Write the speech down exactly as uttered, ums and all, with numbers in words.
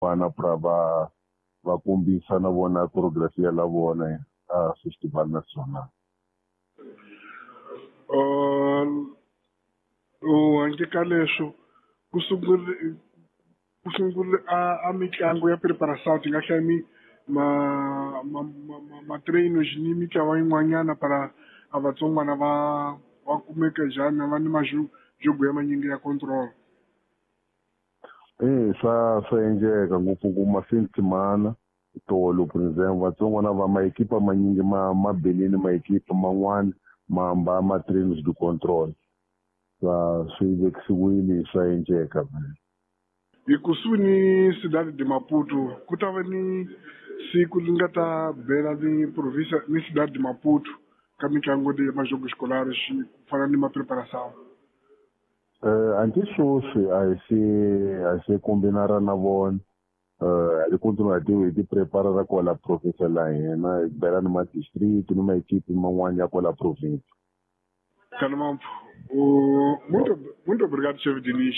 Vana pra va va kombisa na vona choreography la vona a Festival Nacional. Uh, handle ka leswo ku sungule ku sungule a, a mitlangu ya preparação ti nga hlaya mi ma ma ma, ma, ma treinos ni mitlawa yin'wanyana para a vatsongwana va va kumeka njhani va ni majogo ya manyingi ya control. Eh swa swa endleka ngopfu ma-fin de semana tolo, por exemple, vatsongwana va maekipa manyingi ma ma belini maekipa man'wana ma amba ma treinos de control, swa swi vekisiwile, swa endleka. Hi kusuhi ni Cidade de Maputo ku ta va ni siku li nga ta bela ni província ni Cidade de Maputo ka mitlangu leyi ya majogo escolar ku fana ni ma preparação. Eh anti sweswi a hi se a hi se kombinara na vona, eh hi continua hi hi ti prepara ra kwala province la hina, hi bela ni ma district ni maekipi man'wana ya kwala province. Kalmampo, muito muito obrigado, chefe Diniz.